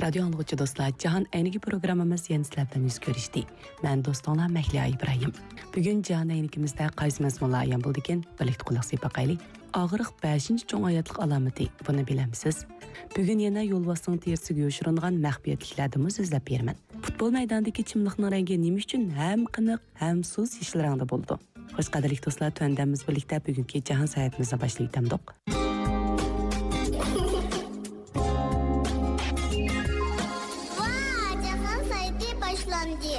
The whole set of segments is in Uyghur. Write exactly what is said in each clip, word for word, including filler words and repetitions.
رادىيو ئاڭلىغۇچى دوستلار، جاھان ئەينىكى پروگراممىمىز يەنە سىلەر بىلەن يۈز كۆرۈشتى. مەن دوستۇڭلار مەھلىيا ئىبراھىم. بۈگۈن جاھان ئەينىكىمىزدە قايسى مەزمۇنلار ئايان بولىدىكىن، بىرلىكتە قۇلاق سېلىپ باقايلى. ئاغرىق بەشىنچى چوڭ ھاياتلىق ئالامىتى، بۇنى بىلەمسىز؟ بۈگۈن يەنە يولۋاسنىڭ تېرىسىگە يوشۇرۇنغان مەخپىيەتلىكلەردىنمۇ سۆزلەپ بېرىمەن. پۇتبول مەيدانىدىكى چىملىقنىڭ رەڭگى نېمە ئۈچۈن ھەم قېنىق، ھەم سۇس يېشىل رەڭدە بولىدۇ؟ خوش، قەدىرلىك دوستلار، تۆۋەندە بىز بىرلىكتە بۈگۈنكى جاھان ساياھىتىمىزنى باشلاۋېتەمدۇق. ۋا، جاھان ساياھىتى باشلاندى.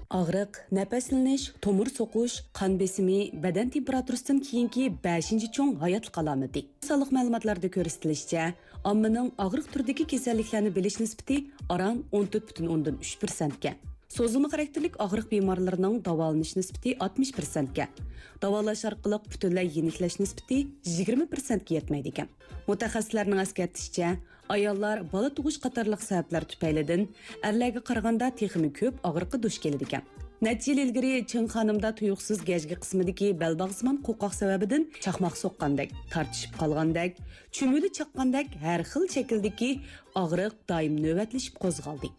ئاغرىق، نەپەسلىنىش، تومۇر سوقۇش، قان بېسىمى، بەدەن تېمپېراتۇرىسىدىن كېيىنكى بەشىنچى چوڭ ھاياتلىق ئالامىتى. سانلىق مەلۇماتلاردا كۆرسىتىلىشىچە، ئاممىنىڭ ئاغرىق تۈرىدىكى كېسەللىكلەرنى بىلىش نىسبىتى ئاران ئون تۆت پۈتۈن ئوندىن ئۈچ پىرسەنتكەن. سوزۇلما خاراكتېرلىك ئاغرىق بىمارلىرىنىڭ داۋالىنىش نىسبىتى ئاتمىش پىرسەنتكەن. داۋالاش ئارقىلىق پۈتۈنلەي يېنىكلەش نىسبىتى يىگىرمە پىرسەنتكە يەتمەيدىكەن. مۇتەخەسسىسلەرنىڭ ئەسكەرتىشىچە، ئاياللار بالا تۇغۇش قاتارلىق سەۋەبلەر تۈپەيلىدىن ئەرلەرگە قارىغاندا تېخىمۇ كۆپ ئاغرىققا دۇچ كېلىدىكەن. نەچچە يىل ئىلگىرى چىڭ خانىمدا تۇيۇقسىز گەجگە قىسمىدىكى بەلباغسىمان قوقاق سەۋەبىدىن چاقماق سوققاندەك، تارتىشىپ قالغاندەك، چۈمۈلە چاققاندەك ھەر خىل شەكىلدىكى ئاغرىق دائىم نۆۋەتلىشىپ قوزغالدى.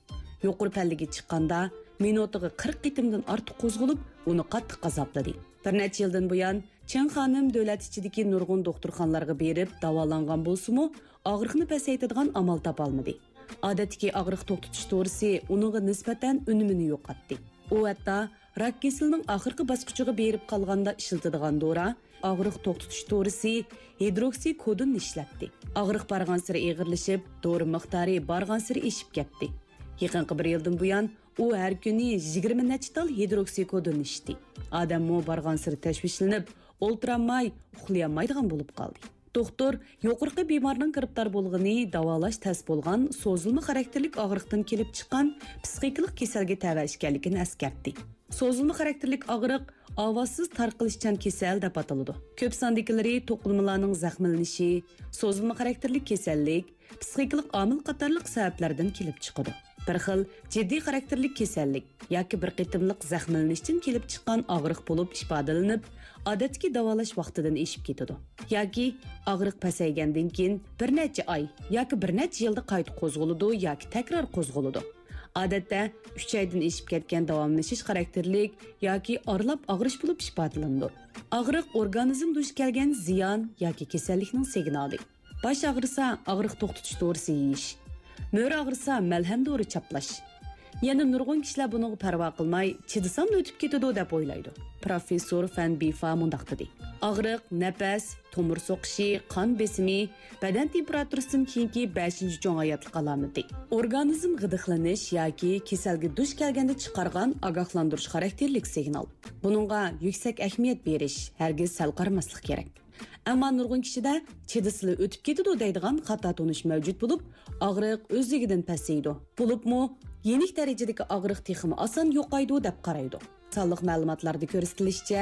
يۇقىرى پەللىگە چىققاندا، مىنۇتىغا قىرىق قېتىمدىن ئارتۇق قوزغىلىپ، ئۇنى قاتتىق ئازابلىدى. بىر نەچچە يىلدىن بۇيان، چىڭ خانىم دۆلەت ئىچىدىكى نۇرغۇن دوختۇرخانىلارغا بېرىپ داۋالانغان بولسىمۇ، ئاغرىقنى پەسەيتىدىغان ئامال تاپالمىدى. ئادەتتىكى ئاغرىق توختىتىش دورىسى ئۇنىڭغا نىسبەتەن ئۈنۈمىنى يوقاتتى. ئۇ ھەتتا راك كېسىلىنىڭ ئاخىرقى باسقۇچىغا بېرىپ قالغاندا ئىشلىتىدىغان دورا، ئاغرىق توختىتىش دورىسى ھىدروكسىكودوننى ئىشلەتتى. ئاغرىق بارغانسېرى ئېغىرلىشىپ، دورا مىقدارى بارغانسېرى ئېشىپ كەتتى. يېقىنقى بىر يىلدىن بۇيان، ئۇ ھەر كۈنى يىگىرمە نەچچە تال ھىدروكسىكودون ئىچتى. ئادەممۇ بارغانسېرى تەشۋىشلىنىپ، ئولتۇرالماي، ئۇخلىيالمايدىغان بولۇپ قالدى. دوختۇر يۇقىرىقى بىمارنىڭ گىرىپتار بولغىنى داۋالاش تەس بولغان سوزۇلما خاراكتېرلىك ئاغرىقتىن كېلىپ چىققان پسىخىكىلىق كېسەلگە تەۋە ئىكەنلىكىنى ئەسكەرتتى. سوزۇلما خاراكتېرلىك ئاغرىق ئاۋازسىز تارقىلىشچان كېسەل دەپ ئاتىلىدۇ. كۆپ ساندىكىلىرى توقۇلمىلارنىڭ زەخىملىنىشى، سوزۇلما خاراكتېرلىك كېسەللىك، پسىخىكىلىق ئامىل قاتارلىق سەۋەبلەردىن كېلىپ چىقىدۇ. بىر خىل جىددىي خاراكتېرلىك كېسەللىك ياكى بىر قېتىملىق زەخىملىنىشتىن كېلىپ چىققان ئاغرىق بولۇپ ئىپادىلىنىپ، ئادەتتىكى داۋالاش ۋاقتىدىن ئېشىپ كېتىدۇ. ياكى ئاغرىق پەسەيگەندىن كېيىن بىر نەچچە ئاي ياكى بىر نەچچە يىلدا قايتا قوزغىلىدۇ ياكى تەكرار قوزغىلىدۇ. ئادەتتە ئۈچ ئايدىن ئېشىپ كەتكەن داۋاملىشىش خاراكتېرلىك ياكى ئارىلاپ ئاغرىش بولۇپ ئىپادىلىنىدۇ. ئاغرىق ئورگانىزم دۇچ كەلگەن زىيان ياكى كېسەللىكنىڭ سىگنالى. باش ئاغرىسا، ئاغرىق توختىتىش دورىسى يېيىش. مۈرە ئاغرىسا، مەلھەم دورا چاپلاش. يەنە نۇرغۇن كىشىلەر بۇنىڭغا پەرۋا قىلماي، چىدىساملا ئۆتۈپ كېتىدۇ دەپ ئويلايدۇ. پروفېسسور فەن بىفا مۇنداق دېدى: ئاغرىق، نەپەس، تومۇر سوقۇشى، قان بېسىمى، بەدەن تېمپېراتۇرىسىدىن كېيىنكى بەشىنچى چوڭ ھاياتلىق ئالامىتى. ئورگانىزم غىدىقلىنىش ياكى كېسەلگە دۇچ كەلگەندە چىقارغان ئاگاھلاندۇرۇش خاراكتېرلىك سىگنال. بۇنىڭغا يۈكسەك ئەھمىيەت بېرىش، ھەرگىز سەل قارىماسلىق كېرەك. ئەمما نۇرغۇن كىشىدە چىدىسىلا ئۆتۈپ كېتىدۇ دەيدىغان خاتا تونۇش مەۋجۇت بولۇپ، ئاغرىق ئۆزلۈكىدىن پەسىيىدۇ. بولۇپمۇ يېنىك دەرىجىدىكى ئاغرىق تېخىمۇ ئاسان يوقايدۇ دەپ قارايدۇ. سانلىق مەلۇماتلاردا كۆرسىتىلىشىچە،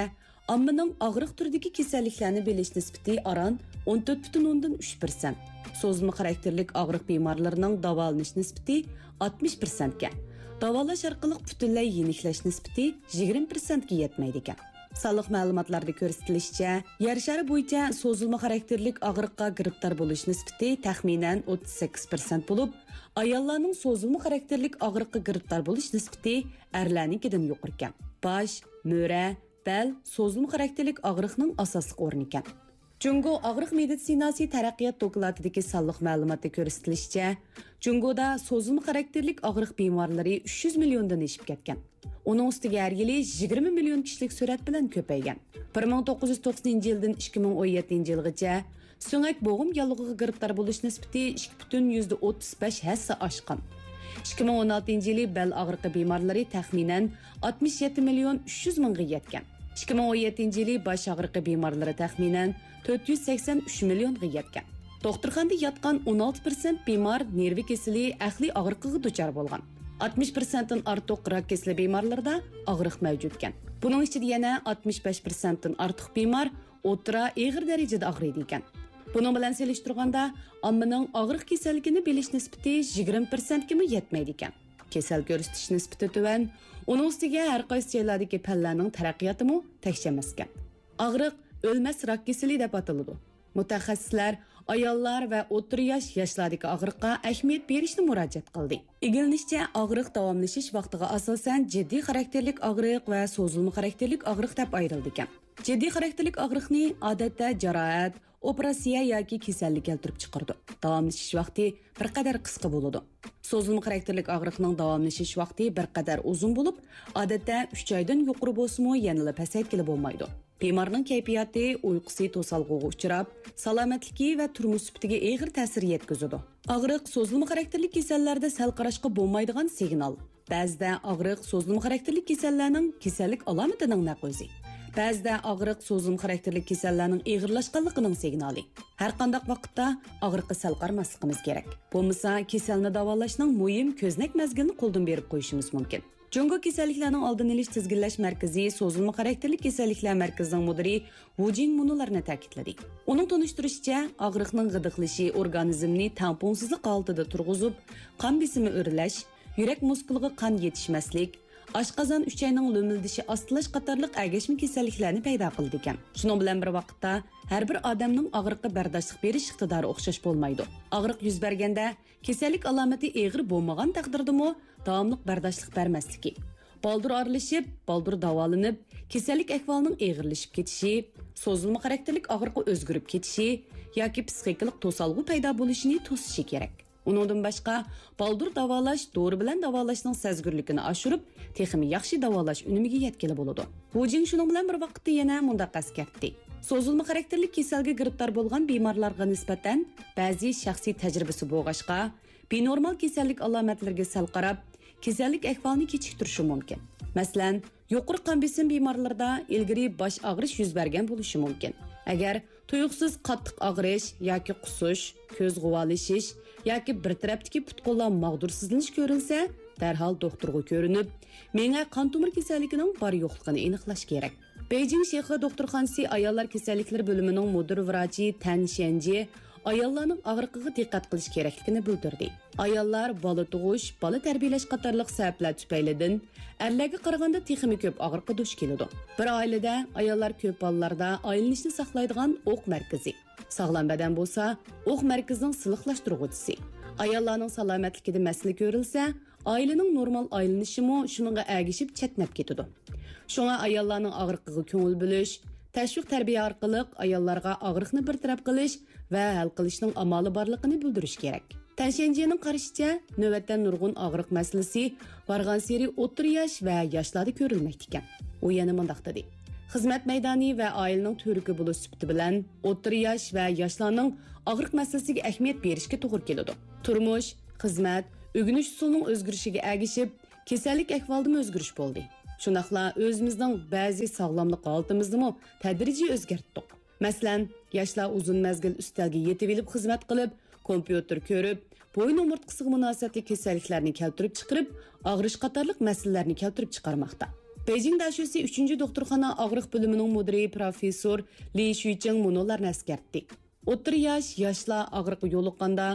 ئاممىنىڭ ئاغرىق تۈرىدىكى كېسەللىكلەرنى بىلىش نىسبىتى ئاران ئون تۆت پۈتۈن ئوندىن ئۈچ پىرسەنت. سوزۇلما خاراكتېرلىك ئاغرىق بىمارلىرىنىڭ داۋالىنىش نىسبىتى ئاتمىش پىرسەنتكەن. داۋالاش ئارقىلىق پۈتۈنلەي يېنىكلەش نىسبىتى يىگىرمە پىرسەنتكە يەتمەيدىكەن. سانلىق مەلۇماتلاردا كۆرسىتىلىشىچە، يەر شارى بويىچە سوزۇلما خاراكتېرلىك ئاغرىققا گىرىپتار بولۇش نىسبىتى تەخمىنەن ئوتتۇز سەككىز پىرسەنت بولۇپ، ئاياللارنىڭ سوزۇلما خاراكتېرلىك ئاغرىققا گىرىپتار بولۇش نىسبىتى ئەرلەرنىڭكىدىن يۇقىرىكەن. باش، مۈرە، بەل سوزۇلما خاراكتېرلىك ئاغرىقنىڭ ئاساسلىق ئورنىكەن. جۇڭگو ئاغرىق مېدىتسىناسى تەرەققىيات دوكلاتىدىكى سانلىق مەلۇماتتا كۆرسىتىلىشىچە، جۇڭگودا سوزۇلما خاراكتېرلىك ئاغرىق بىمارلىرى ئۈچ يۈز مىليوندىن ئېشىپ كەتكەن. ئۇنىڭ ئۈستىگە ھەر يىلى يىگىرمە مىليون كىشىلىك سۈرئەت بىلەن كۆپەيگەن. بىر مىڭ توققۇز يۈز توقسىنىنچى يىلدىن ئىككى مىڭ ئون يەتتىنچى يىلغىچە سۆڭەك بوغۇم ياللۇغىغا گىرىپتار بولۇش نىسبىتى ئىككى پۈتۈن يۈزدە ئوتتۇز بەش ھەسسە ئاشقان. ئىككى مىڭ ئون ئالتىنچى يىلى بەل ئاغرىقى بىمارلىرى تەخمىنەن ئاتمىش يەتتە مىليون ئۈچ يۈز مىڭغا يەتكەن. ئىككى مىڭ ئون يەتتىنچى يىلى باش ئاغرىقى بىمارلىرى تەخمىنەن تۆت يۈز سەكسەن ئۈچ مىليونغا يەتكەن. دوختۇرخانىدا ياتقان ئون ئالتە پىرسەنت بىمار نېرۋا كېسىلى ئەقلىي ئاغرىقىغا دۇچار بولغان. ئاتمىش پىرسەنتتىن ئارتۇق راك كېسىلى بىمارلىرىدا ئاغرىق مەۋجۇتكەن. بۇنىڭ ئىچىدە يەنە ئاتمىش بەش پىرسەنتتىن ئارتۇق بىمار ئوتتۇرا ئېغىر دەرىجىدە ئاغرىيدىكەن. بۇنىڭ بىلەن سېلىشتۇرغاندا، ئاممىنىڭ ئاغرىق كېسەللىكىنى بىلىش نىسبىتى يىگىرمە پىرسەنتكىمۇ يەتمەيدىكەن. كېسەل كۆرسىتىش نىسبىتى تۆۋەن، ئۇنىڭ ئۈستىگە ھەر قايسى جايلاردىكى پەنلەرنىڭ تەرەققىياتىمۇ تەكشى ئەمەسكەن. ئاغرىق ئۆلمەس راك كېسىلى دەپ ئاتىلىدۇ. مۇتەخەسسىسلەر ئاياللار ۋە ئوتتۇرا ياش ياشلاردىكى ئاغرىققا ئەھمىيەت بېرىشنى مۇراجىئەت قىلدى. ئىگىلىنىشىچە، ئاغرىق داۋاملىشىش ۋاقتىغا ئاساسەن جىددىي خاراكتېرلىك ئاغرىق ۋە سوزۇلما خاراكتېرلىك ئاغرىق دەپ ئايرىلىدىكەن. جىددىي خاراكتېرلىك ئاغرىقنى ئادەتتە جاراھەت، ئوپېراتسىيە ياكى كېسەللىك كەلتۈرۈپ چىقىرىدۇ. داۋاملىشىش ۋاقتى بىر قەدەر قىسقا بولىدۇ. سوزۇلما خاراكتېرلىك ئاغرىقنىڭ داۋاملىشىش ۋاقتى بىر قەدەر ئۇزۇن بولۇپ، ئادەتتە ئۈچ ئايدىن يۇقىرى بولسىمۇ يەنىلا پەسەيتكىلى بولمايدۇ. بىمارنىڭ كەيپىياتى، ئۇيقۇسى توسالغۇغا ئۇچراپ، سالامەتلىكى ۋە تۇرمۇش سۈپىتىگە ئېغىر تەسىر يەتكۈزىدۇ. ئاغرىق سوزۇلما خاراكتېرلىك كېسەللەردە سەل قاراشقا بولمايدىغان سىگنال. بەزىدە ئاغرىق سوزۇلما خاراكتېرلىك كېسەللەرنىڭ كېسەللىك ئالامىتىنىڭ نەق ئۆزى. بەزىدە ئاغرىق سوزۇلما خاراكتېرلىك كېسەللەرنىڭ ئېغىرلاشقانلىقىنىڭ سىگنالى. ھەر قانداق ۋاقىتتا ئاغرىققا سەل قارىماسلىقىمىز كېرەك. بولمىسا، كېسەلنى داۋالاشنىڭ مۇھىم كۆزنەك مەزگىلىنى قولدىن بېرىپ قويۇشىمىز مۇمكىن. جۇڭگو كېسەللىكلەرنىڭ ئالدىنى ئېلىش تىزگىنلەش مەركىزى سوزۇلما خاراكتېرلىك كېسەللىكلەر مەركىزىنىڭ مۇدىرى ۋۇ جىڭ مۇنۇلارنى تەكىتلىدى. ئۇنىڭ تونۇشتۇرۇشىچە، ئاغرىقنىڭ غىدىقلىشى ئورگانىزمنى تەڭپۇڭسىزلىق ھالىتىدە تۇرغۇزۇپ، قان بېسىمى ئۆرلەش، يۈرەك مۇسكۇلىغا قان يېتىشمەسلىك، ئاشقازان ئۈچەينىڭ لۆمۈلدىشى ئاستىلاش قاتارلىق ئەگەشمە كېسەللىكلەرنى پەيدا قىلىدىكەن. شۇنىڭ بىلەن بىر ۋاقىتتا، ھەر بىر ئادەمنىڭ ئاغرىققا بەرداشلىق بېرىش ئىقتىدارى ئوخشاش بولمايدۇ. ئاغرىق يۈز بەرگەندە، كېسەللىك ئالامىتى ئېغىر بولمىغان تەقدىردىمۇ داۋاملىق بەرداشلىق بەرمەسلىكى، بالدۇر ئارىلىشىپ، بالدۇر داۋالىنىپ، كېسەللىك ئەھۋالىنىڭ ئېغىرلىشىپ كېتىشى، سوزۇلما خاراكتېرلىك ئاغرىقى ئۆزگىرىپ كېتىشى ياكى پىسخىكىلىق توسالغۇ پەيدا بولۇشىنى توسۇشى كېرەك. ئۇنىڭدىن باشقا، بالدۇر داۋالاش دورا بىلەن داۋالاشنىڭ سەزگۈرلۈكىنى ئاشۇرۇپ، تېخىمۇ ياخشى داۋالاش ئۈنۈمىگە يەتكىلى بولىدۇ. ۋۇ جىڭ شۇنىڭ بىلەن بىر ۋاقىتتا يەنە مۇنداق ئەسكەرتتى: سوزۇلما خاراكتېرلىك كېسەلگە گىرىپتار بولغان بىمارلارغا نىسبەتەن بەزى شەخسىي تەجرىبىسى بولغاچقا، بىنورمال كېسەللىك ئالامەتلىرىگە سەل قاراپ، كېسەللىك ئەھۋالىنى كېچىكتۈرۈشى مۇمكىن. مەسىلەن، يۇقىرى قان بېسىم بىمارلىرىدا ئىلگىرى باش ئاغرىش يۈز بەرگەن بولۇشى مۇمكىن. ئەگەر تۇيۇقسىز قاتتىق ئاغرىش ياكى قۇسۇش، كۆز غۇۋالىشىش ياكى بىر تەرەپتىكى پۇت-قوللار ماغدۇرسىزلىنىش كۆرۈلسە، دەرھال دوختۇرغا كۆرۈنۈپ، مېڭە قان تومۇر كېسەللىكىنىڭ بار-يوقلۇقىنى ئېنىقلاش كېرەك. بېيجىڭ شىخې دوختۇرخانىسى ئاياللار كېسەللىكلىرى بۆلۈمىنىڭ مۇدىر ۋراچى تەن شيەنجى ئاياللارنىڭ ئاغرىقىغا دىققەت قىلىش كېرەكلىكىنى بىلدۈردى. ئاياللار بالا تۇغۇش، بالا تەربىيەلەش قاتارلىق سەۋەبلەر تۈپەيلىدىن ئەرلەرگە قارىغاندا تېخىمۇ كۆپ ئاغرىققا دۇچ كېلىدۇ. بىر ئائىلىدە ئاياللار كۆپ بالىلاردا ئايلىنىشنى ساقلايدىغان ئوق مەركىزى، ساغلام بەدەن بولسا ئوق مەركىزىنىڭ سىلىقلاشتۇرغۇچىسى. ئاياللارنىڭ سالامەتلىكىدە مەسىلە كۆرۈلسە، ئائىلىنىڭ نورمال ئايلىنىشىمۇ شۇنىڭغا ئەگىشىپ چەتنەپ كېتىدۇ. شۇڭا ئاياللارنىڭ ئاغرىقىغا كۆڭۈل بۆلۈش، تەشۋىق تەربىيە ئارقىلىق ئاياللارغا ئاغرىقنى بىر تەرەپ قىلىش ۋە ھەل قىلىشنىڭ ئامالى بارلىقىنى بىلدۈرۈش كېرەك. تەن شيەنجىنىڭ قارىشىچە، نۆۋەتتە نۇرغۇن ئاغرىق مەسىلىسى بارغانسېرى ئوتتۇرا ياش ۋە ياشلاردا كۆرۈلمەكتىكەن. ئۇ يەنە مۇنداق دېدى: خىزمەت مەيدانى ۋە ئائىلىنىڭ تۈۋرۈكى بولۇش سۈپىتى بىلەن ئوتتۇرا ياش ۋە ياشلارنىڭ ئاغرىق مەسىلىسىگە ئەھمىيەت بېرىشكە توغرا كېلىدۇ. تۇرمۇش، خىزمەت، ئۆگىنىش ئۇسۇلىنىڭ ئۆزگىرىشىگە ئەگىشىپ، كېسەللىك ئەھۋالىدىمۇ ئۆزگىرىش بولدى. شۇنداقلا ئۆزىمىزنىڭ بەزى ساغلاملىق ھالىتىمىزنىمۇ تەدرىجىي ئۆزگەرتتۇق. مەسىلەن، ياشلار ئۇزۇن مەزگىل ئۈستەلگە يېتىۋېلىپ خىزمەت قىلىپ، كومپيۇتېر كۆرۈپ، بويۇن ئومۇرتقىسىغا مۇناسىۋەتلىك كېسەللىكلەرنى كەلتۈرۈپ چىقىرىپ، ئاغرىش قاتارلىق مەسىلىلەرنى كەلتۈرۈپ چىقارماقتا. بېيجىڭ دەشۆسى ئۈچىنچى دوختۇرخانا ئاغرىق بۆلۈمىنىڭ مۇدىرى پروفېسسور لى شۈيچىڭ مۇنۇلارنى ئەسكەرتتى. ئوتتۇرا ياش، ياشلار ئاغرىققا يولۇققاندا،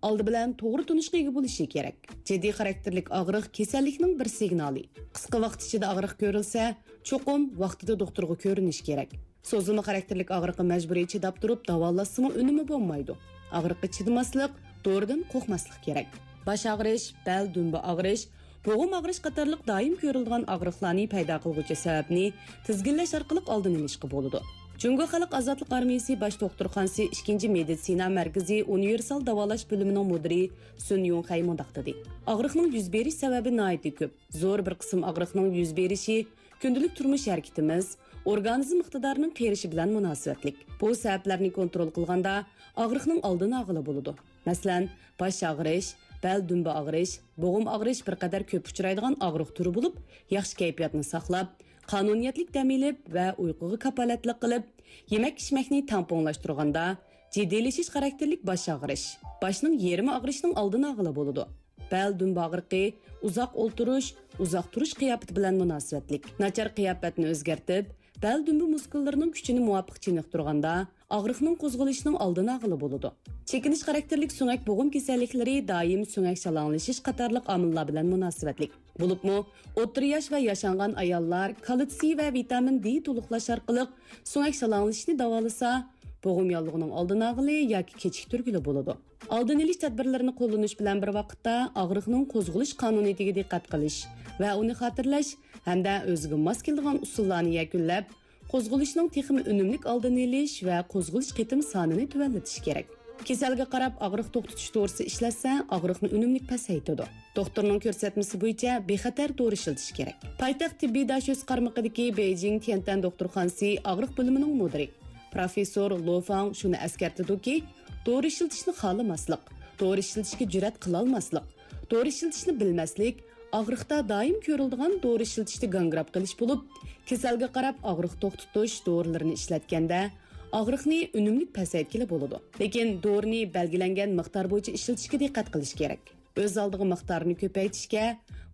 ئالدى بىلەن توغرا تونۇشقا ئىگە بولۇشى كېرەك. جىددىي خاراكتېرلىك ئاغرىق كېسەللىكنىڭ بىر سىگنالى. قىسقا ۋاقىت ئىچىدە ئاغرىق كۆرۈلسە، چوقۇم ۋاقتىدا دوختۇرغا كۆرۈنۈش كېرەك. سوزۇلما خاراكتېرلىك ئاغرىققا مەجبۇرىي چىداپ تۇرۇپ داۋالاشسىمۇ ئۈنۈمى بولمايدۇ. ئاغرىققا چىدىماسلىق، دورىدىن قورقماسلىق كېرەك. باش ئاغرىش، بەل دۈمبە ئاغرىش، بوغۇم ئاغرىش قاتارلىق دائىم كۆرۈلىدىغان ئاغرىقلارنى پەيدا قىلغۇچى سەۋەبنى تىزگىنلەش ئارقىلىق ئالدىنى ئېلىشقا بولىدۇ. جۇڭگو خەلق ئازادلىق ئارمىيىسى باش دوختۇرخانىسى ئىككىنچى مېدىتسىنا مەركىزى ئۇنىۋېرسال داۋالاش بۆلۈمىنىڭ مۇدىرى سۈن يۇڭخەي مۇنداق دېدى: ئاغرىقنىڭ يۈز بېرىش سەۋەبى ناھايىتى كۆپ. زور بىر قىسىم ئاغرىقنىڭ يۈز بېرىشى كۈندىلىك تۇرمۇش ھەرىكىتىمىز، ئورگانىزم ئىقتىدارىنىڭ قېرىشى بىلەن مۇناسىۋەتلىك. بۇ سەۋەبلەرنى كونترول قىلغاندا ئاغرىقنىڭ ئالدىنى ئالغىلى بولىدۇ. مەسىلەن، باش ئاغرىش، بەل دۈمبە ئاغرىش، بوغۇم ئاغرىش بىر قەدەر كۆپ ئۇچرايدىغان ئاغرىق تۈرى بولۇپ، ياخشى كەيپىياتنى ساقلاپ، قانۇنىيەتلىك دەم ئېلىپ ۋە ئۇيقۇغا كاپالەتلىك قىلىپ، يېمەك-ئىچمەكنى تەڭپۇڭلاشتۇرغاندا، جىددىيلىشىش خاراكتېرلىك باش ئاغرىش، باشنىڭ يېرىمى ئاغرىشنىڭ ئالدىنى ئالغىلى بولىدۇ. بەل دۈمبە ئاغرىقى ئۇزاق ئولتۇرۇش، ئۇزاق تۇرۇش قىياپىتى بىلەن مۇناسىۋەتلىك. ناچار قىياپەتنى ئۆزگەرتىپ، بەل دۈمبە مۇسكۇللىرىنىڭ كۈچىنى مۇۋاپىق چېنىقتۇرغاندا، ئاغرىقنىڭ قوزغىلىشىنىڭ ئالدىنى ئالغىلى بولىدۇ. چېكىنىش خاراكتېرلىك سۆڭەك بوغۇم كېسەللىكلىرى دائىم سۆڭەك شالاڭلىشىش قاتارلىق ئامىللار بىلەن مۇناسىۋەتلىك. بولۇپمۇ، ئوتتۇرا ياش ۋە ياشانغان ئاياللار كالتسىي ۋە ۋىتامىن دې تولۇقلاش ئارقىلىق سۆڭەك شالاڭلىشىشنى داۋالىسا، بوغۇم ياللۇغىنىڭ ئالدىنى ئالغىلى ياكى كېچىكتۈرگىلى بولىدۇ. ئالدىنى ئېلىش تەدبىرلىرىنى قوللىنىش بىلەن بىر ۋاقىتتا ئاغرىقنىڭ قوزغىلىش قانۇنىيىتىگە دىققەت قىلىش ۋە ئۇنى خاتىرىلەش ھەمدە ئۆزىگە ماس كېلىدىغان ئۇسۇللارنى يەكۈنلەپ، قوزغىلىشنىڭ تېخىمۇ ئۈنۈملۈك ئالدىنى ئېلىش ۋە قوزغىلىش قېتىم سانىنى تۆۋەنلىتىش كېرەك. كېسەلگە قاراپ ئاغرىق توختىتىش دورىسى ئىشلەتسە، ئاغرىقنى ئۈنۈملۈك پەسەيتىدۇ. دوختۇرنىڭ كۆرسەتمىسى بويىچە بىخەتەر دورا ئىشلىتىش كېرەك. پايتەخت تېببىي داشۆسى قارمىقىدىكى بېيجىڭ تيەنتەن دوختۇرخانىسى ئاغرىق بۆلۈمىنىڭ مۇدىرى پروفېسسور لو فاڭ شۇنى ئەسكەرتىدۇكى، دورا ئىشلىتىشنى خالىماسلىق، دورا ئىشلىتىشكە جۈرئەت قىلالماسلىق، دورا ئىشلىتىشنى بىلمەسلىك، ئاغرىقتا دايىم كۆرۈلىدىغان دورا ئىشلىتىشتە گاڭگىراپ قېلىش بولۇپ، كېسەلگە قاراپ ئاغرىق توختىتىش دورىلىرىنى ئىشلەتكەندە، ئاغرىقنى ئۈنۈملۈك پەسەيتكىلى بولىدۇ. لېكىن دورىنى بەلگىلەنگەن مىقدار بويىچە ئىشلىتىشكە دىققەت قىلىش كېرەك. ئۆز ئالدىغا مىقدارنى كۆپەيتىشكە،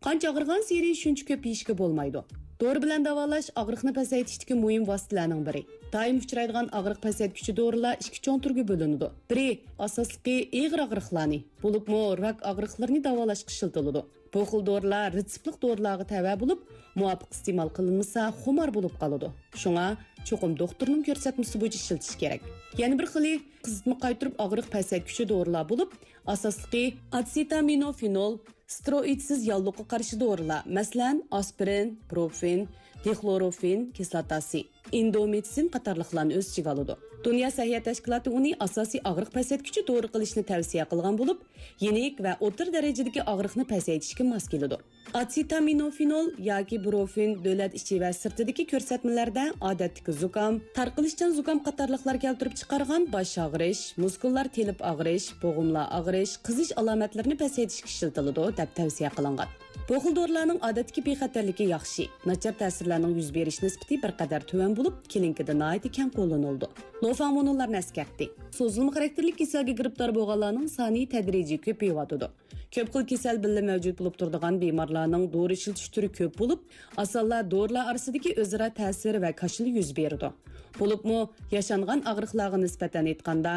قانچە ئاغرىغانسېرى شۇنچە كۆپ يېيىشكە بولمايدۇ. دورا بىلەن داۋالاش ئاغرىقنى پەسەيتىشتىكى مۇھىم ۋاسىتىلەرنىڭ بىرى. دائىم ئۇچرايدىغان ئاغرىق پەسەيتكۈچى دورىلار ئىككى چوڭ تۈرگە بۆلۈنىدۇ. بىرى، ئاساسلىقى ئېغىر ئاغرىقلارنى، بولۇپمۇ راك ئاغرىقلىرىنى داۋالاشقا ئىشلىتىلىدۇ. بۇ خىل دورىلار رېتسېپلىق دورىلارغا تەۋە بولۇپ، مۇۋاپىق ئىستېمال قىلىنمىسا، خۇمار بولۇپ قالىدۇ. شۇڭا چوقۇم دوختۇرنىڭ كۆرسەتمىسى بويىچە ئىشلىتىش كېرەك. يەنە بىر خىلى قىزىتما قايتۇرۇپ ئاغرىق پەسەيتكۈچى دورىلار بولۇپ، ئاساسلىقى ئاتسېتامىنوفېنول، ستېروئىدسىز ياللۇغقا قارشى دورىلار، مەسىلەن، ئاسپىرىن، بروفېن، دىخلوروفېن كىسلاتاسى، ئىندومىتسىن قاتارلىقلارنى ئۆز ئىچىگە ئالىدۇ. دۇنيا سەھىيە تەشكىلاتى ئۇنى ئاساسىي ئاغرىق پەسەيتكۈچى دورا قىلىشنى تەۋسىيە قىلغان بولۇپ، يېنىك ۋە ئوتتۇرا دەرىجىدىكى ئاغرىقنى پەسەيتىشكە ماس كېلىدۇ. ئاتسېتامىنوفېنول ياكى بروفېن دۆلەت ئىچى ۋە سىرتىدىكى كۆرسەتمىلەردە ئادەتتىكى زۇكام، تارقىلىشچان زۇكام قاتارلىقلار كەلتۈرۈپ چىقارغان باش ئاغرىش، مۇسكۇللار تېلىپ ئاغرىش، بوغۇملار ئاغرىش، قىزىش ئالامەتلىرىنى پەسەيتىشكە ئىشلىتىلىدۇ، دەپ تەۋسىيە قىلىنغان. بۇ خىل دورىلارنىڭ ئادەتتىكى بىخەتەرلىكى ياخشى، ناچار تەسىرلەرنىڭ يۈز بېرىش نىسبىتى بىر قەدەر تۆۋەن بولۇپ، كلىنىكىدا ناھايىتى كەڭ قوللىنىلىدۇ. لوفاڭ مۇنۇلارنى ئەسكەرتتى: سوزۇلما خاراكتېرلىك كېسەلگە گىرىپتار بولغانلارنىڭ سانى تەدرىجىي كۆپىيىۋاتىدۇ. كۆپ خىل كېسەل بىللە مەۋجۇت بولۇپ تۇرىدىغان بىمارلارنىڭ دورا ئىشلىتىش تۈرى كۆپ بولۇپ، ئاسانلا دورىلار ئارىسىدىكى ئۆزئارا تەسىر ۋە كاشىلا يۈز بېرىدۇ. بولۇپمۇ ياشانغان ئاغرىقلارغا نىسبەتەن ئېيتقاندا،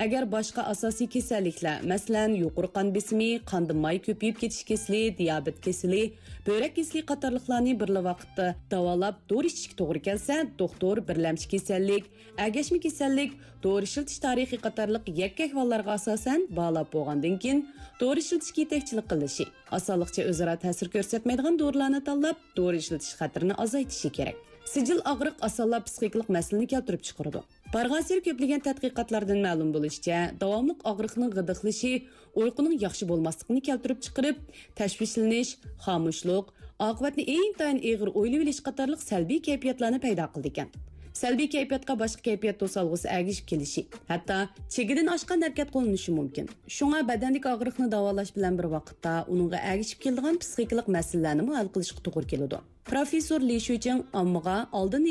ئەگەر باشقا ئاساسىي كېسەللىكلەر، مەسىلەن، يۇقىرى قان بېسىمى، قاندا ماي كۆپىيىپ كېتىش كېسىلى، دىيابېت كېسىلى، بۆرەك كېسىلى قاتارلىقلارنى بىرلا ۋاقىتتا داۋالاپ، دورا ئىچىشكە توغرا كەلسە، دوختۇر بىرلەمچى كېسەللىك، ئەگەشمە كېسەللىك، دورا ئىشلىتىش تارىخى قاتارلىق يەككە ئەھۋاللارغا ئاساسەن باھالاپ بولغاندىن كېيىن، دورا ئىشلىتىشكە يېتەكچىلىك قىلىشى، ئاسانلىقچە ئۆزئارا تەسىر كۆرسەتمەيدىغان دورىلارنى تاللاپ، دورا ئىشلىتىش خەتىرىنى ئازايتىشى كېرەك. سىجىل ئاغرىق ئاسانلا پسىخىكىلىق مەسىلىنى كەلتۈرۈپ چىقىرىدۇ. بارغانسېرى كۆپلىگەن تەتقىقاتلاردىن مەلۇم بولۇشىچە، داۋاملىق ئاغرىقنىڭ غىدىقلىشى ئۇيقۇنىڭ ياخشى بولماسلىقىنى كەلتۈرۈپ چىقىرىپ، تەشۋىشلىنىش، خامۇشلۇق، ئاقىۋەتنى ئىنتايىن ئېغىر ئويلىۋېلىش قاتارلىق سەلبىي كەيپىياتلارنى پەيدا قىلىدىكەن. سەلبىي كەيپىياتقا باشقا كەيپىيات توسالغۇسى ئەگىشىپ كېلىشى، ھەتتا چېگىدىن ئاشقان ھەرىكەت قوللىنىشى مۇمكىن. شۇڭا بەدەندىكى ئاغرىقنى داۋالاش بىلەن بىر ۋاقىتتا ئۇنىڭغا ئەگىشىپ كېلىدىغان پسىخىكىلىق مەسىلىلەرنىمۇ ھەل قىلىشقا توغرا كېلىدۇ. پروفېسسور لى شۈچىڭ ئاممىغا ئالدىن